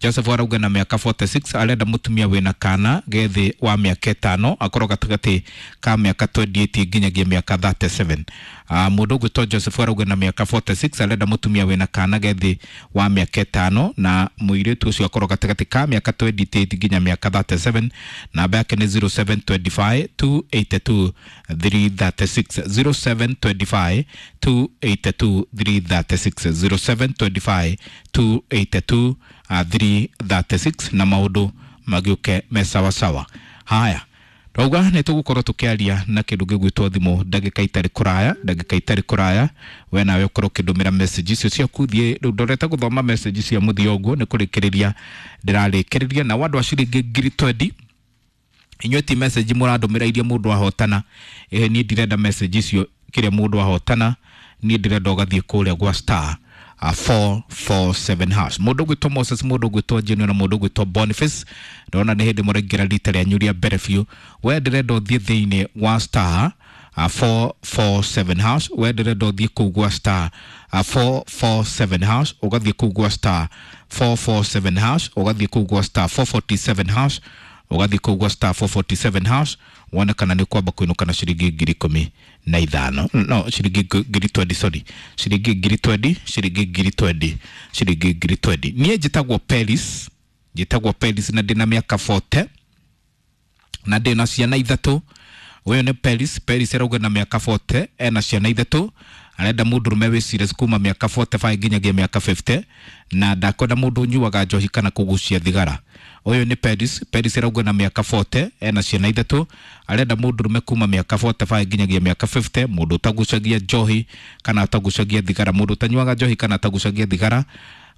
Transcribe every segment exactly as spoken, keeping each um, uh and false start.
Joseph arauga na mĩaka mĩrongo ĩnana na ithathatũ, arenda mũtumia wĩna kana gethĩ wa mĩaka ĩtano, akorwo gatagatĩ ka mĩaka mĩrongo ĩrĩ na ĩnana nginyagia mĩaka mĩrongo ĩtatũ na mũgwanja. uh, mũndũ ũgwĩtwo Joseph arauga na mĩaka mĩrongo ĩnana na ithathatũ, arenda mũtumia wĩna kana gethĩ wa mĩaka ĩtano, na mũirĩtu ũcio akorwo gatagatĩ ka mĩaka mĩrongo ĩrĩ na ĩnana nginya mĩaka mĩrongo ĩtatũ na mũgwanja. Namba yake nĩ zero seven two five two eight two three three six, zero seven two five two eight two three three six, zero seven two five two eight two uh, three three six, na maũndũ magĩũke me sawasawa. Haya, twauga nĩ tũgũkorwo tũkĩaria na kĩndũ gĩgwĩtwo thimũ ndagĩka itarĩ kũraya, ndagĩka itarĩ kũraya. We nawe ũkorwo ũkĩndũmĩra message icio ciaku. Thiĩ rĩu ndorete gũthoma message cia mũthia ũguo, nĩ kũrĩkĩrĩria ndĩrarĩkĩrĩria na wandũ a ciringi ngiri twendi. Inyuĩ ti message mũrandũmĩra iria mũndũ ahotana. Ĩĩ, niĩ ndirenda message icio kĩrĩa mũndũ ahotana. Niĩ ndĩrenda ũgathiĩ kũrĩa gwa star uh, four four seven hash. Mũndũ ũgwĩtwo Moses, mũndũ ũgwĩtwo Junior na mũndũ ũgwĩtwo Boniface, ndona nĩ hĩndĩ mũraingĩra rita rĩanyu rĩa mbere biũ. We ndĩrenda ũthiĩ thĩinĩ wa star uh, four four seven hash. We ndĩrenda ũthiĩ kũu gwa star uh, four four seven hash, ũgathiĩ kũu gwa star four four seven hash, ũgathiĩ kũu gwa star four four seven hash, ũgathiĩ kũu gwa star four four seven hash, wone kana nĩ kwamba kũinũka na ciringi ngiri ikũmi na ithano, no ciringi ngiri twendi, sorry, ciringi ngiri twendi, ciringi ngiri twendi, ciringi ngiri twendi. Niĩ njĩtagwo Peris, njĩtagwo Peris na ndĩna mĩaka mĩrongo ĩna na ndĩna ciana ithatũ. Ũyũ nĩ Peris. Peris arauga na mĩaka mĩrongo ĩna, ena ciana ithatũ, arenda mũndũrũme wĩ serious kuma mĩaka mĩrongo ĩnana na ithano nginyagia mĩaka mĩrongo ĩtano, na ndakwenda mũndũ ũnyuaga njohi kana kũgucia thigara. Ũyũ nĩ Peris. Peris arauga na mĩaka mĩrongo ĩna, ena ciana ithatũ, arenda mũndũrũme kuma mĩaka mĩrongo ĩnana na ithano nginyagia mĩaka mĩrongo ĩtano, mũndũ ũtagucagia njohi kana atagucagia thigara, mũndũ ũtanyuaga njohi kana atagucagia thigara,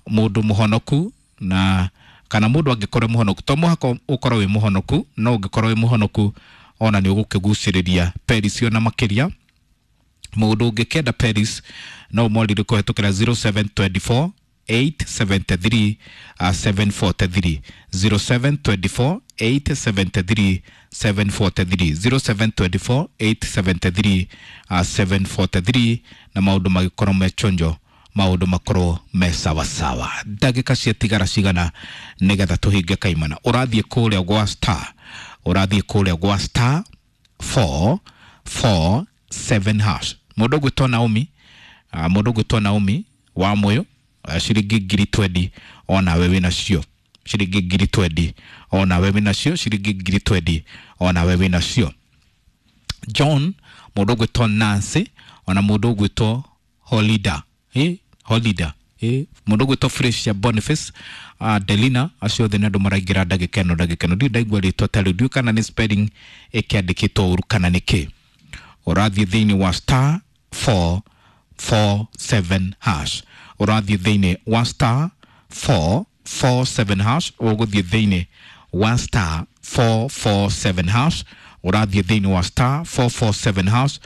mũndũ mũhonoku, na kana mũndũ angĩkorwo mũhonoku, to mũhaka ũkorwo wĩ mũhonoku, no ũngĩkorwo wĩ mũhonoku ona nĩ ũgũkĩgucĩrĩria Peris ona makĩria. Mũndũ ũngĩkenda Peris no ũmwarĩrie kũhetũkĩra zero seven two four eight seven three uh, seven four three, zero seven two four eight seven three seven four three, zero seven two four eight seven three uh, seven four three, na maũndũ magĩkorwo me chonjo, maũndũ makorwo me sawasawa. Ndagĩka ciatigara cigana nĩgetha tũhinge kaimana? Ũrathiĩ kũrĩa gwa star, ũrathiĩ kũrĩa gwa star four four seven hash. Mũndũ ũgwĩtwo Naomi, uh, mũndũ ũgwĩtwo Naomi wa Mũyũ, uh, ciringi ngiri twendi onawe wĩnacio, ciringi ngiri twendi onawe wĩnacio, ciringi ngiri twendi onawe wĩnacio. John, mũndũ ũgwĩtwo Nancy, ona mũndũ ũgwĩtwo Holida, eh, Holida, eh, mũndũ ũgwĩtwo Fresia Boniface, uh, Delina, acio othe nĩ andũ maraingĩra ndagĩka ĩno. Ndagĩka ĩno ndirĩ ndaigua rĩtwa ta rĩu, ndiũĩ kana nĩ spelling ĩkĩandĩkĩtwo ũru kana nĩ kĩ. Ũrathiĩ thĩinĩ wa star four four seven hash, ũrathiĩ thĩinĩ wa star four four seven hash, ũgũthiĩ thĩinĩ wa star four four seven hash, ũrathiĩ thĩinĩ wa star four four seven hash,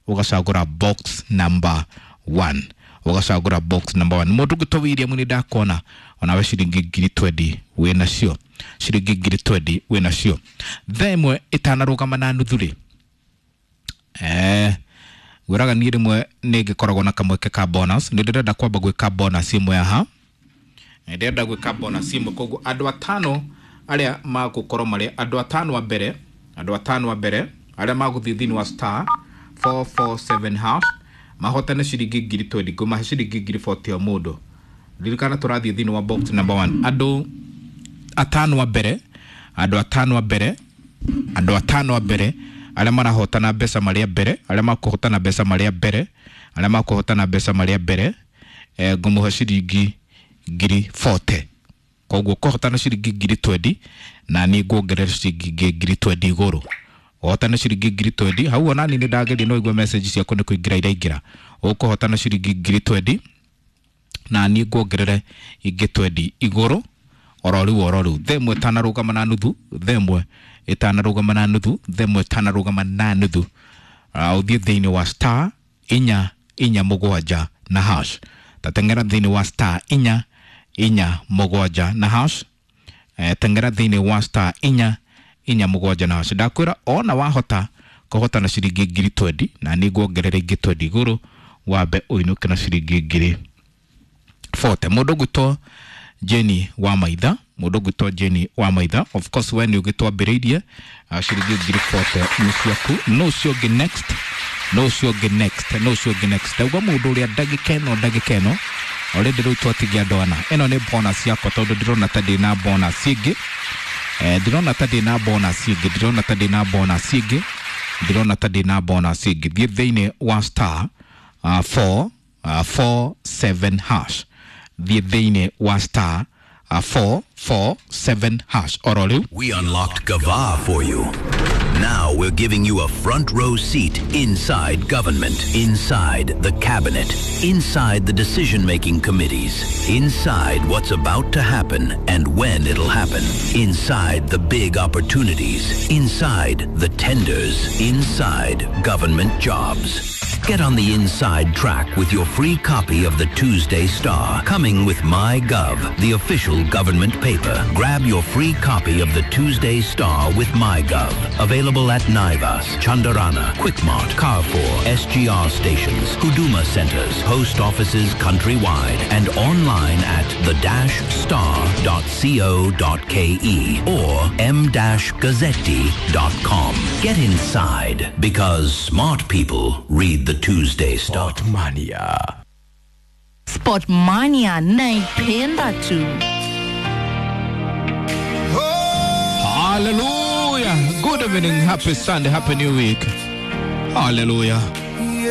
ũgacagũra box number one, ũgacagũra box number one. Mũndũ ũgwĩtwo William, nĩ ndakuona onawe, ciringi ngiri twendi wĩnacio, ciringi ngiri twendi wĩnacio. Thaa ĩmwe ĩtanarũgama na nuthu rĩ, eh ngwĩraga niĩ rĩmwe nĩ ngĩkoragwo na kamweke ka bonus. Nĩ ndĩrenda kwamba gwĩka bonus ĩmwe haha, nĩ ndĩrenda gwĩka bonus ĩmwe. Koguo andũ atano arĩa magũkorwo marĩ andũ atano a mbere, andũ atano a mbere arĩa magũthiĩ thĩinĩ wa star four four seven hash mahotane ciringi ngiri twendi, ngũmahe ciringi ngiri mĩrongo ĩna o mũndũ. Ririkana tũrathiĩ thĩinĩ wa box number one. Andũ atano a mbere, andũ atano a mbere, andũ atano a mbere arĩa marahotana mbeca marĩa mbere, arĩa makũhotana mbeca marĩa mbere, arĩa makũhotana mbeca marĩa mbere, eh, ngũmũhe ciringi ngiri mĩrongo ĩna. Koguo kũhotana ciringi ngiri twendi na niĩ nguongerera ciringi ingĩ ngiri twendi igũrũ. Ũhotane ciringi ngiri twendi hau, ona niĩ nĩ ndageria, no igue message ciaku nĩ kũingĩra iraingĩra. Ũkũhotana ciringi ngiri twendi na niĩ nguongerere ingĩ twendi igũrũ oro rĩu, oro rĩu. Thaa ĩmwe ĩtanarũgama na nuthu, thaa ĩmwe ĩtanarũgama na nuthu, thaa ĩmwe ĩtanarũgama na nuthu, uh, ũthiĩ thĩinĩ wa star inya inya mũgwanja na hash. Tateng'era thĩinĩ wa star inya inya mũgwanja na hash. eh, teng'era thĩinĩ wa star inya inya mũgwanja na hash. Ndakwĩra ona wahota kũhotana ciringi ngiri twendi na nĩ nguongerera ingĩ twendi igũrũ, wambe ũinũke na ciringi ngiri mĩrongo ĩna. Mũndũ ũgwĩtwo Jenny wa Maitha. Mũndũ ũgwĩtwo Jane wa Maitha, of course we nĩ ũgĩtwambĩrĩirie, uh, ciringi ngiri forty nĩ ciaku. No ũcio ũngĩ next, no ũcio ũngĩ next, no ũcio ũngĩ next. Ndauga mũndũ ũrĩa ndagĩka ĩno, ndagĩka ĩno already rĩu twatigia andũ ana. Ĩno nĩ bonus yakwa tondũ ndĩrona ta ndĩna bonus ĩngĩ. Eh, ndĩrona ta ndĩna bonus ĩngĩ, ndĩrona ta ndĩna bonus ĩngĩ, ndĩrona ta ndĩna bonus ĩngĩ. Thiĩ thĩinĩ wa star uh, four uh, four seven hash. Thiĩ thĩinĩ wa star uh, four four seven hash oro rĩu. We unlocked Gava for you. Now we're giving you a front row seat inside government, inside the cabinet, inside the decision-making committees, inside what's about to happen and when it'll happen, inside the big opportunities, inside the tenders, inside government jobs. Get on the inside track with your free copy of the Tuesday Star, coming with MyGov, the official government paper. Grab your free copy of the Tuesday Star with MyGov. Available at Naivas, Chandarana, Quickmart, Carrefour, S G R stations, Huduma centers, post offices countrywide, and online at the dash star dot co dot K E or m dash gazzetti dot com. Get inside, because smart people read the Tuesday Star. Sportmania. Sportmania naipenda tu. Hallelujah. Good evening, happy Sunday, happy new week. Hallelujah.